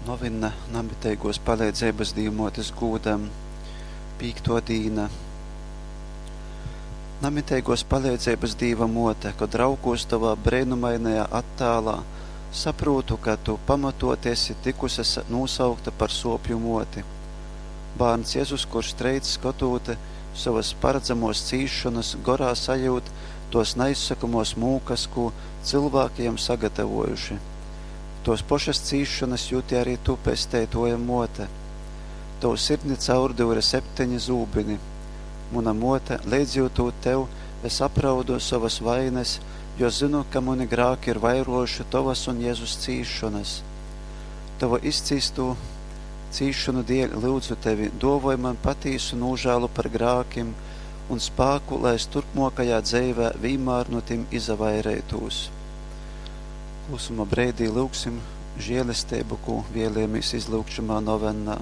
Novinna namiteiguos paleidzeibys Dīvmuotis gūdam. Pīktuo dīna. Namiteiguos paleidzeibys Dīva Muote, kod raugūs Tovā breinumainajā attālā, saprūtu, ka Tu pamatuoti esi tykuse nūsaukta par Suopju Muoti. Bārns Jezus, kurš treic, skotūt sovys paradzamuos cīsšonys, gorā sajiut tuos naizsokamuos mūkys, kū cylvāki jam sagatavuojuši. Tuos pošys cīsšonys juti ari Tu, Pesteituoja Muote. Tovu sirdi caurdyure septeni zūbyni. Muna muote, leidzjiutūt Tev, es apraudu sovys vaines, jo zynu, ka muni grāki ir vairuojuši Tovys un Jezus cīsšonys. Tovu izcīstū cīsšonu dieļ lyudzu Tevi, duovoj man patīsu nūžālu par grākim un spāku, lai es turpmuokajā dzeivē vīnmār nu tim izavaireitūs. Klusuma breidī lyugsim žielesteibu, kū vēlējamīs izlyugt šymā novennā.